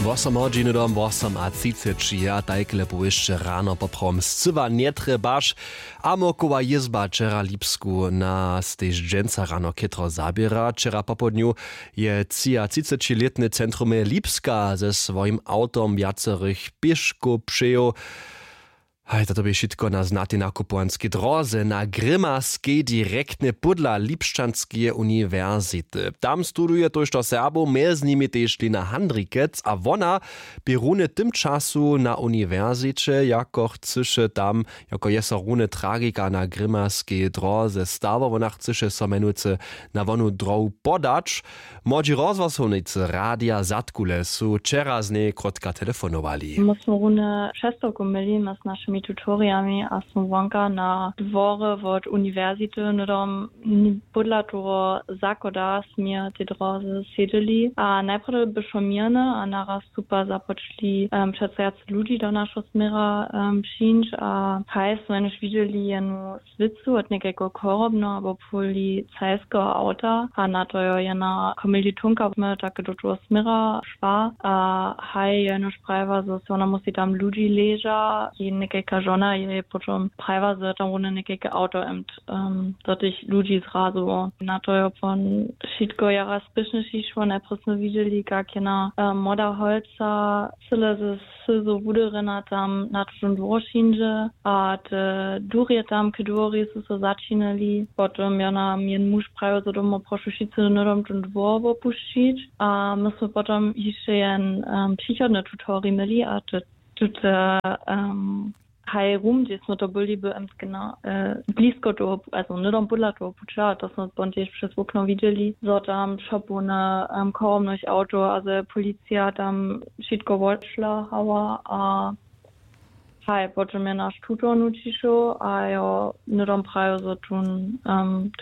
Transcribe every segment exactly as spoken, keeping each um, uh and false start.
Wosom hodźiny dom wosom a třiceći a tajkle powěsće rano poprawom scyła njetrjebaš. A mokowa jězba wčera lipsku nas tež dźensa rano chětro zaběra. Wčera popołdnju je třiatřicećilětny centrumje lipska ze swojim awtom wjacerych pěškow přejoł. Haj, to bě wšitko na znatej nakupowanskej dróze na grimaskej direktnje pódla lipšćanskeje uniwersity. Tam studuje tójšto Serbow, mjez nimi tež Lena Handrikec, a wona bě runje w tym času na uniwersiće, jako chcyše tam jako je so runje tragika na grimaskej dróze stało. Wona chcyše so mjenujcy na wonu dróhu podać. Młodźi rozhłosownicy radija Zadkule su wčera z njej krótka telefonowali. My smy runje přestawku měli z našimi tutorijami a smy wonka na dworje wot uniwersity hnydom pódla toho zachoda směr tej drózy sědźeli a najprjedy by šło měrne a naraz su pak započli přeco wjac ludźi do našeho směra přińć a haj smy jenož widźeli jenu swěcu wot někajkeho chorobneho abo policajskeho awta a na to jo jena kommilitonka smy take do toho směra šła a haj jenož prajiła zo se wona musi tam ludźi leža, jej někajka žona jej potom prajiła zo je tam runje někajke awto do tych ludźi zrazowało. Na to jo pon wšitko jara spěšnješ išło, najprjedy smy widźeli kak jena młoda holca cyle ze syzo wuderjena tam na tutón dwór přińdźe a te durje tam k dwori su so začinili. Potom jo nam jen muž prajił zo domo prošu wšitcy hnydom tón dwór wopušćić a my smy potom hišće jen přichodny tutorij měli a te tute haj rum hdźež smy to byli by blisko toho, hnydom pódla toho puća a to smy pon tež přez wokno widźeli zo tam šopowne chorobnych awtow a zo je policija tam wšitko wotšlahała a haj potom je naš tutor nutřišoł a jo hnydom prajił zo tón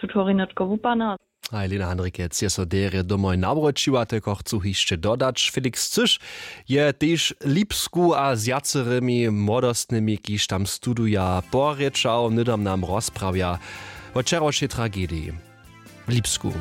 tutorij nětko wupadny. Haj, Lena Handrikec je so derje domoj nawróćiła, telko chcu hišće dodać. Felix Cyš je tež lipsku a z wjacerymi młodostnymi kiž tam studuja porěčał, hnydom nam rozprawja wot wčerawšej tragediji w lipsku.